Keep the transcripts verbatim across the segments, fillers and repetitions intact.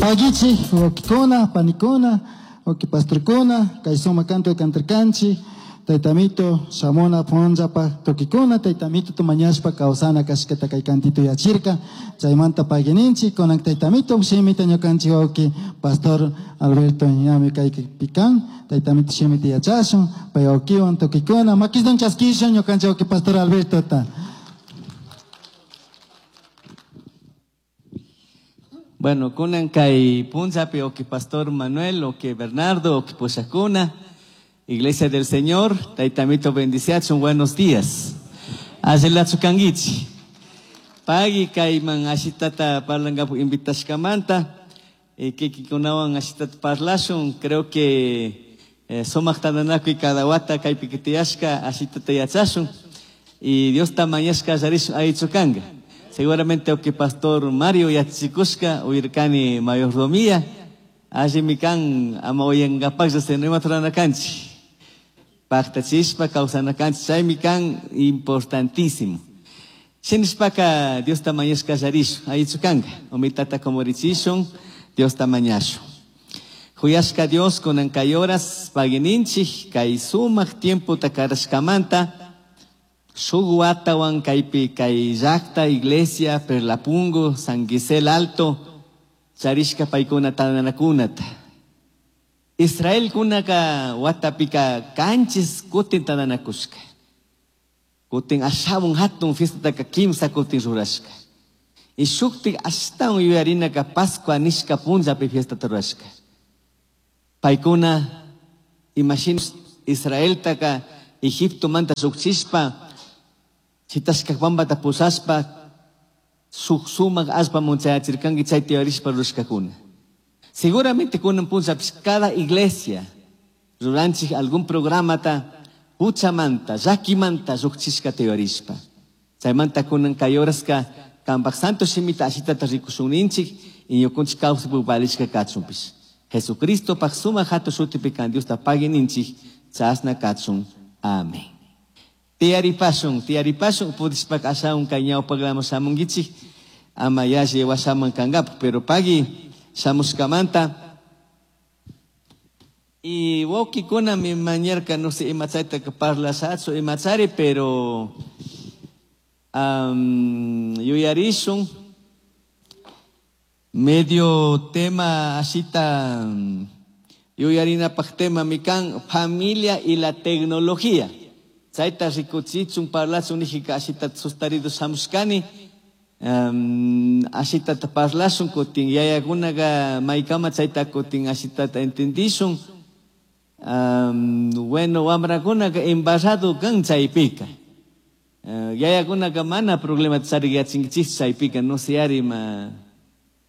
Pagichi, wawkikuna, panikuna, wawki pastorkuna, kay sumak canto cantarkanchik, Taytamito shamuna punllapaj tukikuna, Taytamito tumañashpa kawsana kashkata kay cantito yachirka, chaymanta pagininchik, kunan Taytamito shimita ñukanchik wawki Pastor Alberto ñami kaypi kan, Taytamito shimita yachashun, pay wawkiwan tukikuna, makistan chaskishun ñukanchik wawki Pastor Albertota. Bueno, kunan kay punllapi oki Pastor Manuel, oki Bernardo, oki Pushakuna, Iglesia del Señor, Taytamito bendiciachun, buenos días. Allilachu kankichik. Pagui kayman ashitata parlangapu invitashkamanta, eh, kikikunawan ashitata parlashun, creo que eh, sumaq tantanakuy cada wata kaypi kitiyashka ashitata yachashun, y Dios tamañashka allarishun allichu kanka. Seguramente oki Pastor Mario yachachikushka, uyirkani mayordomía, allimi kan ama uyankapaklla sino imata rurana kanchik. Pactachishpa kawsana kanchik, chaymi kan importantísimo. Shinishpaka Dios tamañashka allarishun, allichu kanka, umitata kumurichishun, Dios tamañashun. Huyashka Dios kunan kay horas pagininchik, kay sumak tiempo takarashkamanta, shuk watawan kaypi kay llakta, iglesia, Perlapungo, San Gisel Alto, charishka paykuna tantanakunata. Israel kunaka watapika kanchis kutin tantanakushka. Kutin ashawan hatun fiestata kimsa kutin rurashka. Y shuktik ashtawan yuyarinaka Pascua nishka punllapi fiestata rurashka. Paykuna imashina Israeltaka Egipto manta shukchishpa, chitashka pampata pushashpa, shuk sumak allpa munchayachirkanki chayta yuyarishpa rurashkakuna. Seguramente kunan punllapis cada iglesia ruranchik algún programata huchamanta, llakimanta llukchishkata yuyarishpa. Chaymanta kunan kay horaska kanpak santo shimita ashitata rikushunninchik y ñukunchik kawsaypuk valishka kachunpish. Jesucristo pak sumak hatun shutipi kan Diosta pagininchik chasna kachun. Amén. Tiyaripashun, tiyaripashun, pudishpaka ashawan kay ñawpaklaman shamunkichik, ama yalli washaman kankapak, pero pagui shamushkamanta. Y wawkikuna mi mañarka, no sé, imachayta parlashachu, imachari, pero, um, yuyarishun, medio tema ashita, yuyarinapak tema mi kan, familia y la tecnología. Chayta rikuchichun parlachun nijika ashita sustarido shamushkani, um, ashitata parlashun kutin yayakunaqa maykama chayta kutin ashitata entendishun. Um, bueno, wamrakunaqa embarrado kan chaypika. Uh, yayakunaqa mana problema charinkichik chaypika, no sé ari ma,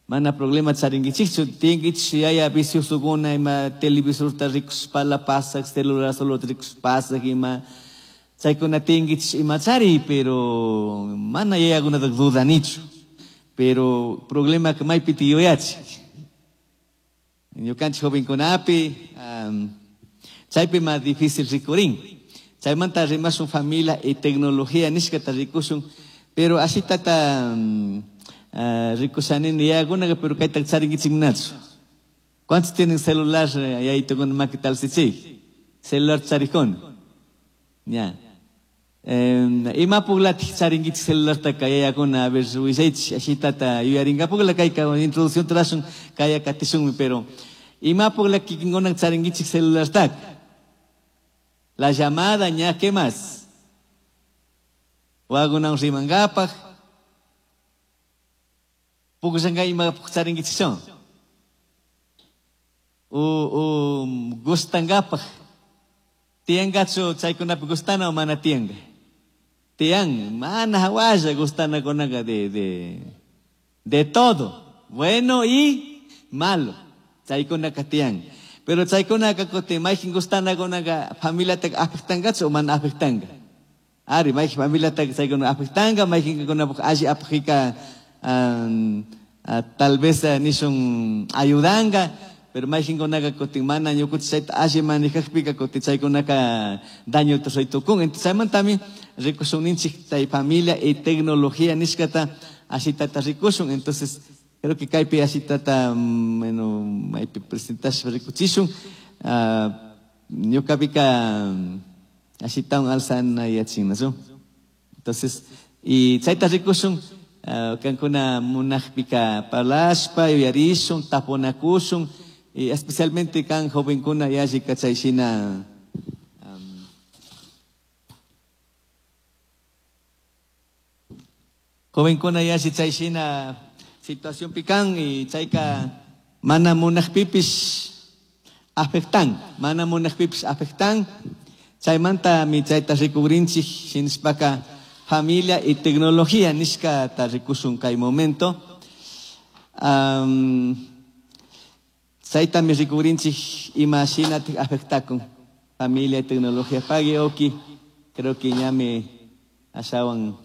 mana problema charinkichikchu, tinkichik yaya viciosokuna ima televisorta rikushpala pasak, celular solo rikushpasak ima chaykuna tinkichik ima chari, pero mana yayakunata dudanichu. Pero problema que maypi yuyachik. Ñukanchik jovenkunapi, um, chaypi más difícil rikurin. Chaymanta rimashun familia y tecnología nishkata rikushun, pero así tata, um, uh, rikushanini yayakunaka, pero kayta charinkichiknachu. ¿Cuántos tienen celular yayitokuna makita alsichik? Celular charikuna. Ya. Eh, imapuklatik charinkichik celulartaka yayakuna, a ver, willaychik, ashitata yuyarinkapuklaka kayka introducción trashun kaya katishunmi, pero imapuklak kikinkuna charinkichik celulartaka. La llamada, ña, ¿qué más? Wagunan rimankapak. Pukushanka imapuk charinkichik. U, u gustankapak. Tiyankachu chaykunapi gustana o mana tiyanka? Tiyan, mana hawalla gustana kunaka de, de, de todo, bueno y malo. Chaykunaka tiyan. Pero chaykunaka kutin maykin gustana kunaka familiata afectankachu o mana afectanka? Ari, maykin familiata chaykuna afectanka, maykin kunapuk alli apjika, um, uh, tal vez, uh, nishun ayudanka, pero maykin kunaka kutin mana ñukuchik chayta alli manejakpika kutin chaykunaka daño tukun. Entonces chaymantami rikushun ninchik tay familia y tecnología nishkata ashitata rikushun. Entonces Creo que kaypi ashitata bueno maypi presentashpa rikuchishun. Uh, ñuqapika ashitawan alzana yachinnachu. Entonces, y chayta rikushun uh, kankuna munaqpika parlashpa yuyarishun tapunakushun y especialmente kan jovenkuna yallika chayshina um, jovenkuna yalli chayshina situación pican y chayka mana munaqpipis afectan, mana munaqpipis afectan. Chaymanta mi chayta rikugrinchik shinashpaka familia y tecnología nishka ta rikushun kay momento. Um, chayta mi rikugrinchik ima shinatik afectakun familia y tecnología. Pagui oki, creo que ñami ashawan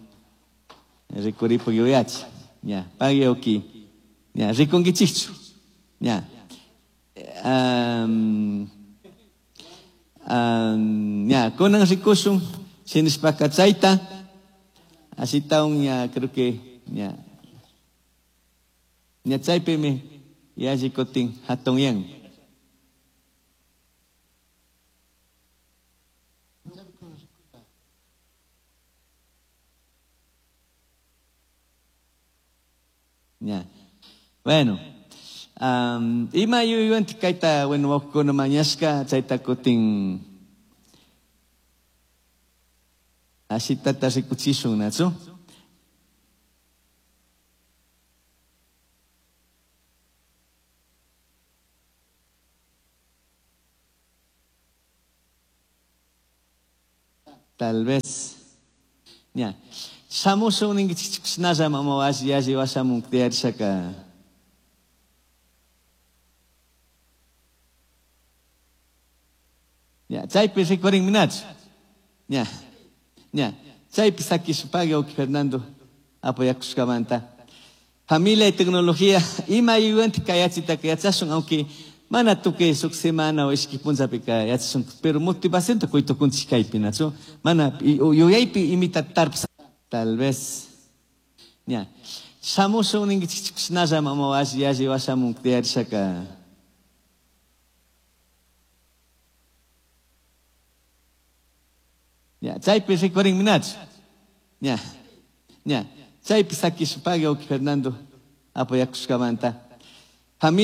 rikuripu yuyachi. Ya, pagui oki. Ya, rikunkichikchu. Ya. Um, um, ya, kunan rikushun shinashpaka chayta ashitawan ya creo que ya ya chaypimi yalli kutin hatun yan. Ya. Bueno, um, ima yuyuwantik kayta, bueno, wawqikuna mañashka, chayta kutin ashitata rikuchishun, nachu? Tal vez. Ya. Shamushun ninkichikchinalla mama alli alli washamun tiyarishaka. Ya, chaypi rikurin minachu. Ya. Ya. Chaypi sakishpagui wawqi Fernando apoyakushkamanta. Familia y tecnología ima yuyuwantik kay yachitaka yachashun, aunque mana tukuy suk semana o ishki punllapika yachashun, pero motivacionta quytukunchik kaypi, nachu? Mana yuyaypi imita tarpsa. Tal vez. Ya. Shamushun ninkichikchinalla mama alli alli washamun tiyarishaka. Ya, chaypi rikurin minachu. Ya. Ya. Chaypi sakishpagui wawqi Fernando apoyakushkamanta. Familia